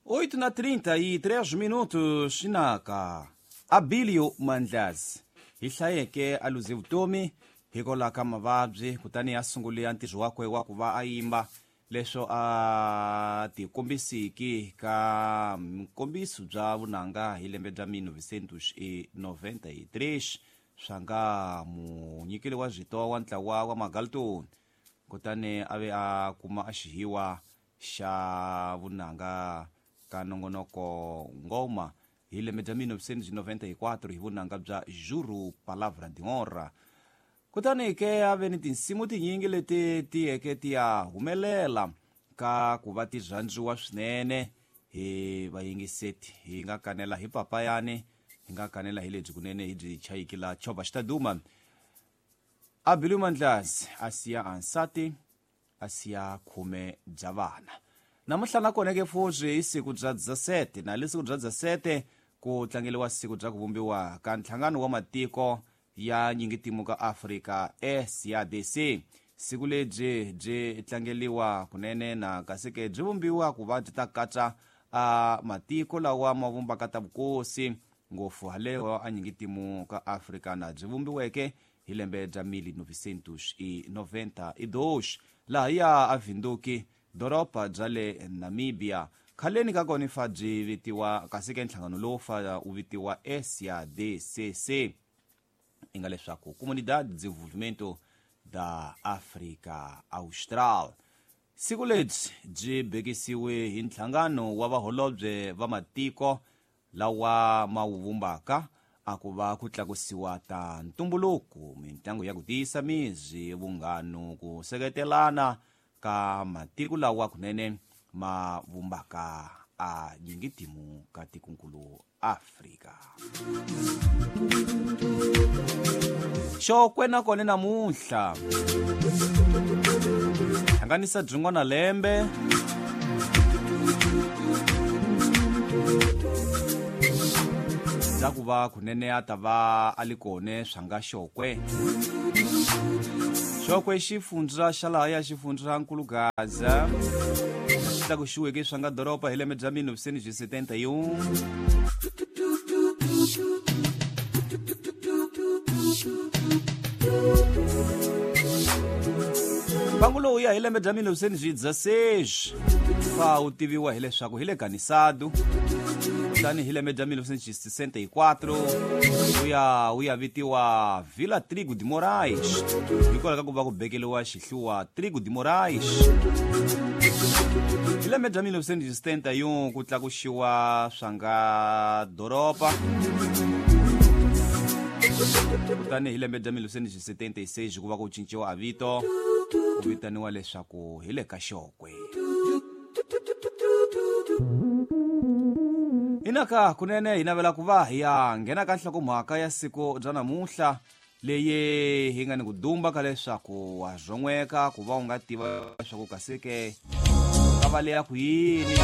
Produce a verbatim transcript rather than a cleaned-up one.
Oito na trinta e três minutos inaka Abilio Mandlazi hi hlayeke a luze vutomi hikwalaho ka mavabyi kutani a sungule ntirho wakwe wa ku va a yimba leswo a tikombisiki ka nkombiso bya vunanga hi lembe bya mil novecentos e noventa e três swa nga munyikeli wa zwito wa ntlawa wa Magalton kutani a ve a kuma a xihiwa xa vunanga ka nongonoko ngoma hi lembe bya mil novecentos e noventa e quatro hi vunanga bya Juro Palavra de Honra. Kutani ke a ve ni tinsimu tinyingi leti tiyeke ti ya humelela ka ku va ti rhandziwa swinene hi vayingiseti. Hi nga kanela hi papayani, hi nga kanela hi lebyi kunene hi byi chayiki la Chova Xitaduma. Abilio Mandlazi a siya ansati, a siya khume bya vana. Namuntlha na kona ke futhi hi siku bya dezessete, na le siku bya dezessete ku tlangeliwa siku bya ku vumbiwa ka nhlangano wa matiko ya nyingitimu ka Afrika S A D C. Siku lebyi byi tlangeliwa kunene na kasi ke byi vumbiwa ku va byi ta katsa a matiko lawa ma vumbaka ta vukosi ngopfu haleo a nyingitimu ka Afrika na byi vumbiweke hi lembe bya mil novecentos e noventa e dois laha ya a Windhoek doroba bya le Namibia. Khaleni ka kona fa byi vitiwa kasi ke nhlangano lowu fa wu vitiwa S A D C C inga leswaku Comunidade de Desenvolvimento da África Austral. Siku lebyi byi bekisiwe hi nhlangano wa vaholobye va matiko lawa ma wu vumbaka a ku va ku tlakusiwa ta ntumbuluko, mintlangu ya ku tiyisa mizi, vunghano, ku seketelana ka matiko lawa kunene ma vumbaka a nyingitimu ka tikonkulu Afrika. Xokwe na kona namuntlha hlanganisa byin'wana lembe bya ku va kunene a ta va a li kone swa nga Xokwe. Xokwe xifundza xa laha ya xifundza Nkulugaza xi tlakuxiweke swa nga doroba hi lembe bya mil novecentos e setenta e um. Mbangu lowu ya hi lembe bya mil novecentos e dezesseis fa wu tiviwa hileswaku hi le Ganisado, kutani hi lembe bya mil novecentos e sessenta e quatro wu ya wu ya vitiwa Vila Trigo de Moraes hikwalaho ka ku va ku bekeliwa xihluwa Trigo de Moraes. Hi lembe bya mil novecentos e setenta e um ku tlakuxiwa swa nga doroba, kutani hi lembe bya mil novecentos e setenta e seis ku va ku cinciwa a vito ku vitaniwa leswaku hi le ka Xokwe. Inaka kunene hi navela ku va hi ya nghena ka nhlokomhaka ya siku bya namuntlha leyi hi nga ni ku dumba ka leswaku wa zon'weka ku va u nga tiva leswaku kasi ke ka va leya ku yini.